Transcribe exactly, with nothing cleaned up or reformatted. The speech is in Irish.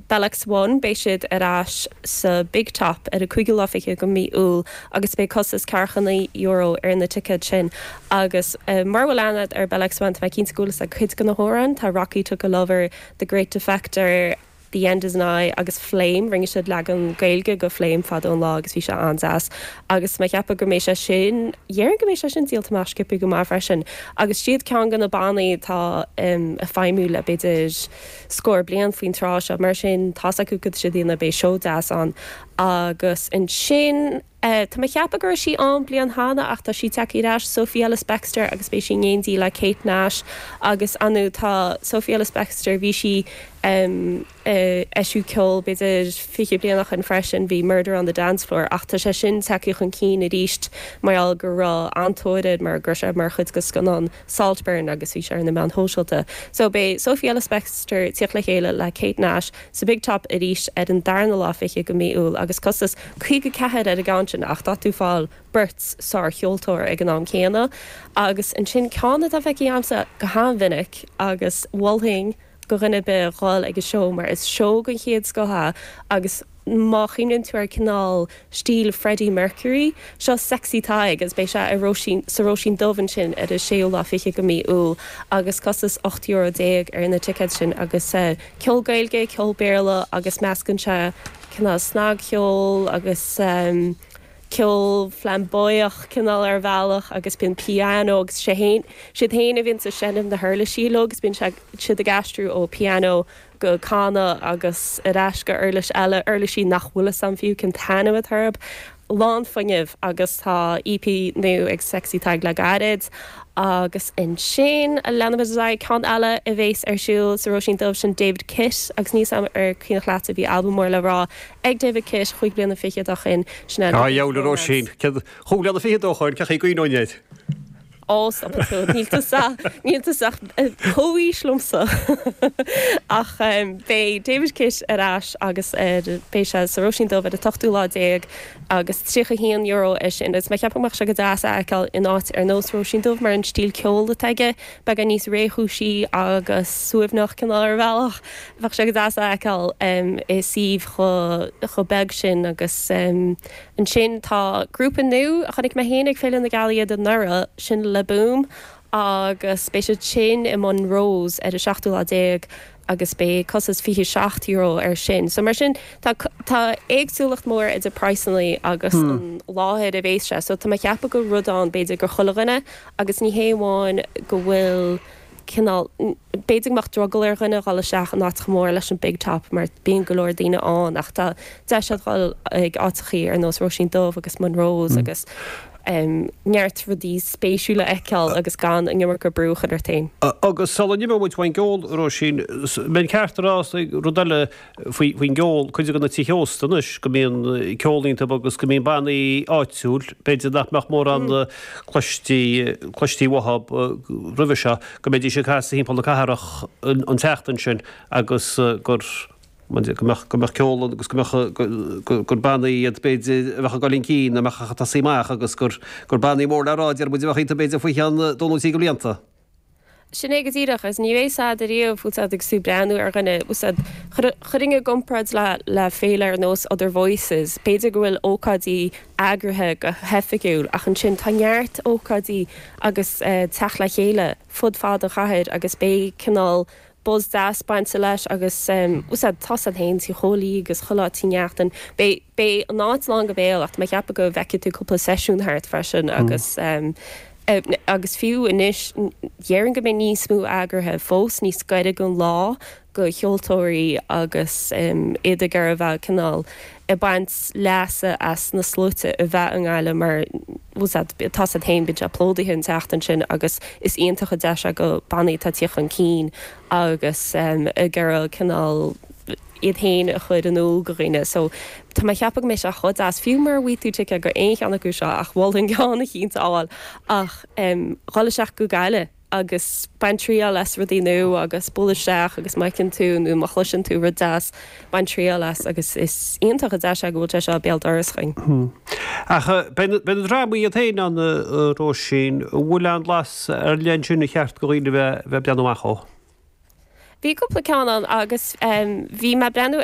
Bellax One, beidh siad ar ais sa Big Top ar an cúigiú lá fiche de mhí Iúil agus beidh costas ceathracha naoi euro ar na ticéid sin. Agus uh, mura bhfuil aithne ar Bellax One, tá mé cinnte go bhfuil a cuid de na hamhráin, tá Rocky Took a Lover, The Great Defector, The End Is Nigh agus Flame. Rinne siad leagan Gaeilge de Flame fadó an lá agus bhí sé an-deas agus mé ceapadh go mbeidh sé sin dhéarfainn go mbeidh sé sin díolta amach sciobtha go maith freisin agus siad ceann de na bannaí atá um, ag feidhmiú le b'fhéidir scór bliain faoin tráth seo, mar sin tá acu go siad na beidh seó deas ann agus ansin Uh, Tá mé ceapadh go raibh sí an bliain cheana ach tá sí tagtha ar ais Sophie Ellis Bextor agus beidh sí in éindí le Kate Nash agus anu tá Sophie Ellis Bextor, bhí sí um, uh, eisiú ceol b'fhéidir fiche bliain ó shin freisin, bhí Murder on the Dance Floor ach tá sé sin tagtha chun cinn arís mar go raibh an-tóir mar gur sé mar chuid de scannán Saltburn agus bhí sé ar na meáin shóisialta. So beidh Sophie Ellis Bextor tíocht le chéile le Kate Nash sa Big Top arís ar an darna lá fiche de mhí Iúil agus costas caoga ceathair ar an gceann sin ach tá tú fáil beirt sárcheoltóir ag an am céanna agus ansin ceann atá feicthe agamsa go han-mhinic agus mholfainn do dhuine ar bith dhul ag an seó mar is seó den chéad scoth é agus má chuimhníonn tú ar cineál stíl Freddie Mercury, seo Sexy Tadhg agus beidh sé i Róisín sa Róisín Dubh ansin ar an séú lá fiche de mhí Iúil agus costas ocht euro déag ar na ticéid sin agus uh, ceol Gaeilge, ceol Béarla agus meascann sé cineál snagcheol agus um, ceol flamboyant cineál ar bhealach agus bíonn piano agus sé héin siad héin a bhíonn ag seinm na huirlisí agus bíonn siad ag aistriú ó piano go canadh agus ar ais go uirlis eile, uirlisí nach bhfuil san fiú cén t-ainm atá orthu. Lán fuinnimh agus tá E P nua ag Sexy Tadhg le gairid agus ansin a leanfaidh ceann eile a bheas ar siúl sa Róisín Dubh, sin David Kitt agus níos am ar cuimhneach leat a bhí albam mór le rá ag David Kitt chúig bliana fichead ó shin. Sin Á le Róisín chúig bliana fichead ó shin ce chuoine. Ó níl níl comhaois liomsa ach beidh David Kitt ar ais agus beidh sé sa Róisín Dubh ar an ochtú lá déag agus tríocha haon euro é sin is mé ceapadh mbeadh sé go deas a fheiceáil in áit ar nós Róisín Dubh mar an stíl ceol atá aige beagán níos réchúisí agus suaimhneach cineál ar bhealach. Bheadh sé go deas a fheiceáil i suíomh chomh beag sin agus ansin tá grúpa nua a chonaic mé féin ag Féile na Gealaí anuraidh, sin Le Boom agus beidh siad sin i Monroe's ar an seachtú lá déag agus beidh costas fiche seacht euro ar sin. So mar sin tá tá éagsúlacht mór idir praghsanna agus an láthair a bheas sé, so tá mé ceapadh go rud ann b'fhéidir do chuile dhuine agus ní hé amháin go bhfuil cineál b'fhéidir go mbeadh drogall ar dhuine dhul isteach in áit chomh mór leis an Big Top mar bíonn go leor daoine ann ach tá deis agat dhul ag áiteachaí ar nós Róisín Dubh agus Monroe's agus um, neart rudaí spéisiúla a fheiceáil agus gan an iomarca brú a chur ort féin. Agus sula n-imeoidh muid faoin gceol, Róisín, mbeinn ceart a rá rud eile faoin gceol, cuid de na tithe ósta anois go mbíonn ceol iontu agus go mbíonn bannaí áitiúil, b'fhéidir nach mbeadh mórán cloistí cloistí uathu roimhe seo, go mbeidís ag casadh thimpeall na cathrach an tseachtain sin agus gur go mbeadh go mbeadh ceol agus go mbeadh gur bannaí iad b'fhéidir a bheadh ag dul chun cinn, a mbeadh ag tosaí amach agus gur gur bannaí mór le rá deir muid a bheadh iontu b'fhéidir faoi cheann dó nó trí de bhlianta. Sin é go díreach agus ní bheidh siad ariamh úsáid ag sú breathnú ar dhuine úsáid chuirfinn i gcomparáid le le féile ar nós Other Voices. B'fhéidir go bhfuil ócáidí eagraithe go hoifigiúil ach ansin tá neart ócáidí agus uh, teacht le chéile fud fad an chathair agus beidh cineál buzz deas bainte leis agus um, úsáid tá siad féin Tigh Chóilí agus chuile áit neachtain. Beidh beidh an áit lán go béal ach mé ceapadh go bhfeicfidh tú cúpla seisiún thart freisin agus um, agus fiú anois dhéarfainn go mbeidh níos mó eagraithe fós níos gaire don lá do cheoltóirí agus um, iad ag a bheith cineál ag baint leasa as na sluaite a bheith i nGaillimh mar tá siad féin bíonn sé plódaithe an tseachtain sin agus is iontach an deis go bannaí atá ag teacht chun cinn agus um, ag iarraidh cineál iad féin a chur in iúl do dhaoine. So tá mé ceapadh go mbeidh sé chomh deas fiú mura bhfaighidh tú ticéad go aon cheann acu seo ach mholfainn ceann eicínt a fháil ach um, dhul isteach go Gaillimh agus bain triail as rudaí nua agus buail isteach agus má fheiceann tú nó má chloiseann tú rud deas bain triail as agus is iontach an deis go bhfuil sé seo béal dorais chugainn. Ach beidh na drámaí iad féin ann, a Róisín, bhfuil aon bhlas ar leith ansin ar cheart do dhaoine bheith bheith breathnú amach dó? Bhí cúpla ceann ann agus um, bhí mé breathnú